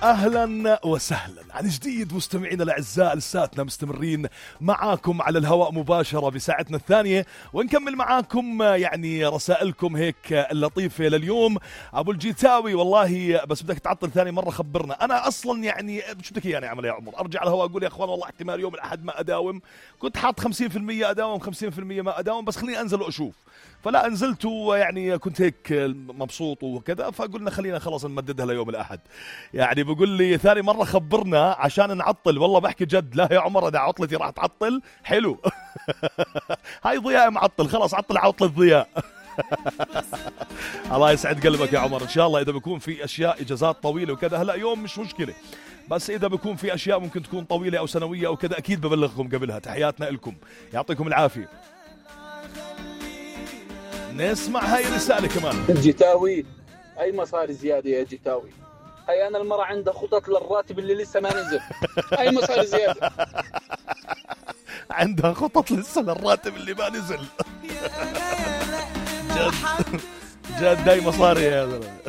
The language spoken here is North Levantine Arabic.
أهلا وسهلا عن جديد مستمعينا الأعزاء، لساتنا مستمرين معاكم على الهواء مباشرة بساعتنا الثانية، ونكمل معاكم يعني رسائلكم هيك اللطيفة لليوم. أبو الجيتاوي والله بس بدك تعطل ثاني مرة خبرنا. أنا أصلا يعني شو بدك يعني أعمل يا عمر؟ أرجع على الهواء أقول يا أخوان والله احتمال يوم الأحد ما أداوم، كنت حاط 50% أداوم 50% ما أداوم، بس خليني أنزل وأشوف. فلا نزلت يعني كنت هيك مبسوط وكذا، فقلنا خلينا خلاص نمددها ليوم الأحد. يعني بقول لي ثاني مرة خبرنا عشان نعطل. والله بحكي جد، لا يا عمر أنا عطلتي راح تعطل حلو. هاي ضياء معطل، خلاص عطل عطلة ضياء. الله يسعد قلبك يا عمر. إن شاء الله إذا بيكون في أشياء إجازات طويلة وكذا، هلأ يوم مش مشكلة، بس إذا بيكون في أشياء ممكن تكون طويلة أو سنوية أو كذا أكيد ببلغكم قبلها. تحياتنا لكم، يعطيكم العافية. نسمع هاي الرسالة كمان. الجيتاوي أي مصاري زيادة يا جيتاوي؟ هاي أنا المرة عندها خطط للراتب اللي لسه ما نزل. أي مصاري زيادة؟ عندها خطط لسه للراتب اللي ما نزل. جد جد هاي مصاري يا زلمة.